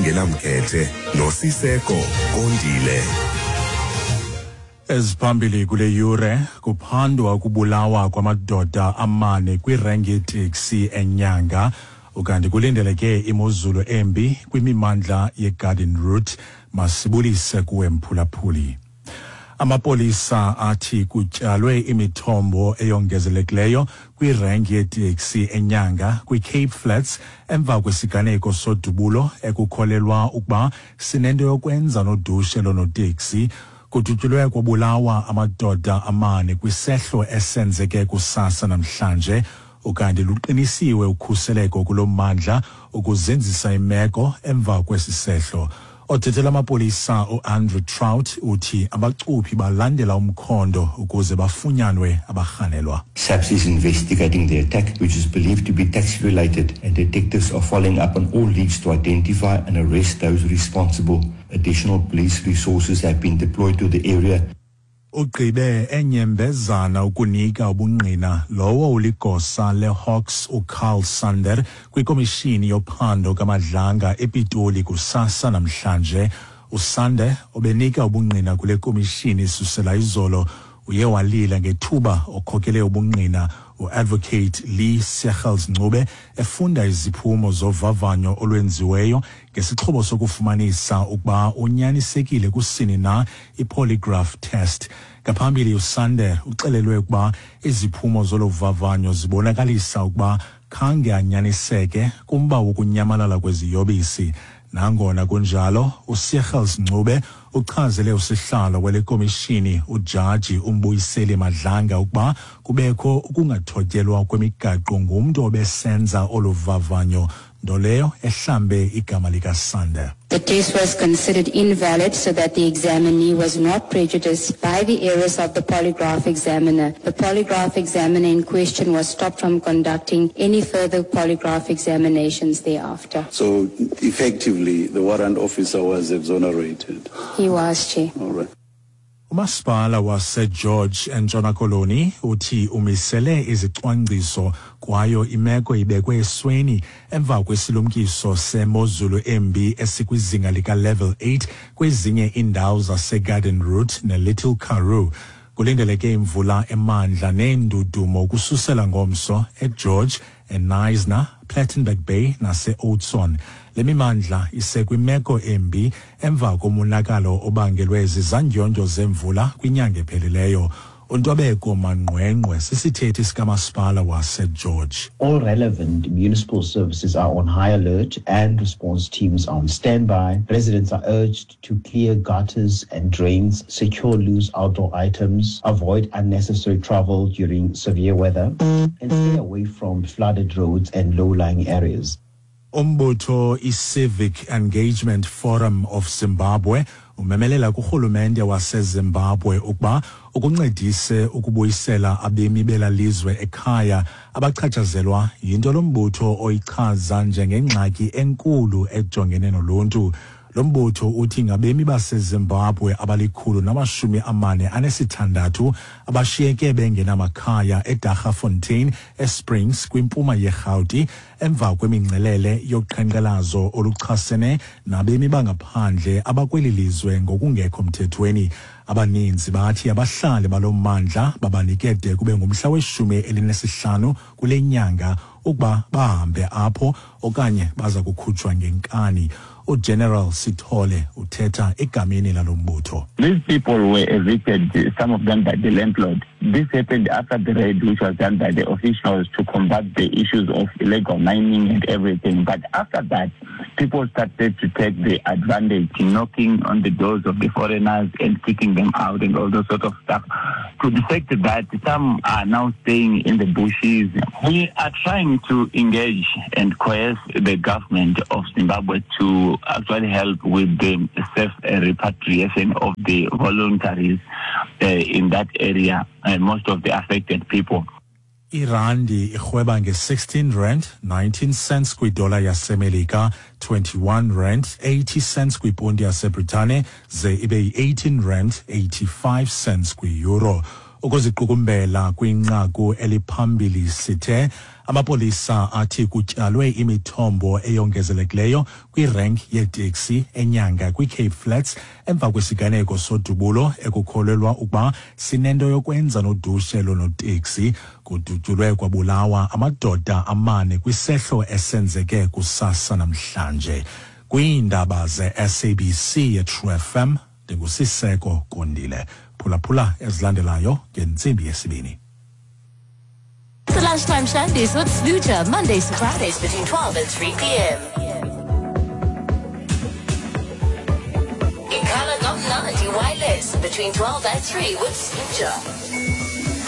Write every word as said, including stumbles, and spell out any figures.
elingenamkhethe noSiseko Kondile. Eziphambili kule yure, kuphandwa ukubulawa kwamadoda amane kwirenki yeteksi eNyanga, ukanti kulindeleke imozulu embi kwimimandla yeGarden Route. Masibulise kuwe mphulaphuli. Amapolisa athi kutyalwe imithombo eyongezelekileyo kwirenki yeteksi eNyanga kwiCape Flats emva kwesiganeko sodubulo ekukholelwa ukuba sinento yokwenza nodushe lonoteksi. Kudutyulwe kwabulawa amadoda amane kwisehlo esenzeke kusasa namhlanje, ukanti luqinisiwe ukhuseleko kulo mmandla ukuzinzisa imeko emva kwesi sehlo. Othethela amapolisa uAndrew Trout uthi abacuphi balandela umkhondo ukuze bafunyanwe abarhanelwa. S A P S is investigating the attack, which is believed to be taxi-related, and detectives are following up on all leads to identify and arrest those responsible. Additional police resources have been deployed to the area. Ugqibe enyembezana ukunika ubungqina lowo uligosa leHawks uCarl Sander kwikomishini yophando kaMadlanga ePitoli kusasa namhlanje. USander obenika ubungqina kule komishini isusela izolo uye walila ngethuba okhokele ubungqina uAdvocate Lee Sechels Ncube efunda iziphumo zovavanyo olwenziweyo ngesixhobo sokufumanisa ukuba unyanisekile kusini na, i-polygraph test. Ngaphambili uSander uxelelwe ukuba iziphumo zolo vavanyo zibonakalisa ukuba khange anyaniseke kumba wokunyamalala kweziyobisi. Nangona kunjalo, uSechels Ncube uchazele usihlalo wale komishini ujaji uMbuyiseli Madlanga ukuba kubekho ukungathotyelwa kwemigaqo ngumntu obesenza olu vavanyo, nto leyo ehlambe igama likaSander. The test was considered invalid so that the examinee was not prejudiced by the errors of the polygraph examiner. The polygraph examiner in question was stopped from conducting any further polygraph examinations thereafter. So effectively, the warrant officer was exonerated? He was, Chair. All right. Umasipala waseGeorge eNtshona Koloni uthi umisele izicwangciso kwayo imeko ibekwe esweni emva kwesilumkiso semozulu embi esikwizinga lika-level eight kwezinye iindawo zaseGarden Route neLittle Karoo. Kulindeleke imvula emandla neendudumo ukususela ngomso eGeorge, eKnysna, Plettenberg Bay nase-Oudtshoorn. Le mimandla isekwimeko embi emva komonakalo obangelwe zizandyondyo zemvula kwinyanga ephelileyo. UNtobeko Manqwenqwe sisithethi sikamasipala waseGeorge. All relevant municipal services are on high alert and response teams are on standby. Residents are urged to clear gutters and drains, secure loose outdoor items, avoid unnecessary travel during severe weather, and stay away from flooded roads and low-lying areas. Umbutho i-Civic Engagement Forum of Zimbabwe umemelela kurhulumente waseZimbabwe ukuba ukuncedise ukubuyisela abemi bela lizwe ekhaya abachatshazelwa yinto lo mbutho oyichaza njengengxaki enkulu ejongene noluntu. Lo mbutho uthi ngabemi baseZimbabwe abalikhulu namashumi amane anesithandathu abashiyeke bengenamakhaya eDaggafontein eSprings kwimpuma yeRhawuti emva kwemingcelele yoqhankqalazo oluchasene nabemi bangaphandle abakweli lizwe ngokungekho mthethweni. Abaninzi bathi abahlali balo mmandla babanike de kube ngumhla weshumi elinesihlanu kule nyanga ukuba bahambe apho okanye baza kukhutshwa ngenkani. UGeneral Sithole uthetha egameni lalo mbutho. These people were evicted, some of them by the landlord. This happened after the raid which was done by the officials to combat the issues of illegal mining and everything. But after that, people started to take the advantage, knocking on the doors of the foreigners and kicking them out and all those sort of stuff. To the fact that some are now staying in the bushes. We are trying to engage and coerce the government of Zimbabwe to actually help with the safe repatriation of the voluntaries uh, in that area and most of the affected people. Irandi irhweba nge-sixteen rand nineteen cents kwidola yaseMelika, twenty-one rand eighty cents kwiponti yaseBritane, ze ibe yi-eighteen rand eighty-five cents kwi-euro. Ukuziqukumbela kwinqaku eliphambili sithe amapolisa athi kutyalwe imithombo eyongezelekileyo kwirenk yeeteksi eNyanga kwiCape Flats emva kwesiganeko sodubulo ekukholelwa ukuba sinento yokwenza nodushe lonoteksi. Kudutyulwe kwabulawa amadoda amane kwisehlo esenzeke kusasa namhlanje. Kwiindaba ze-S A B C ye-True F M, ndinguSiseko Kondile. Phulaphula ezilandelayo ngentsimbi yesibini. The Lunchtime Shandies with Sluja, Mondays to Fridays between twelve and three p m. Ikhala Gomnandi Wireless between twelve and three with Sluja.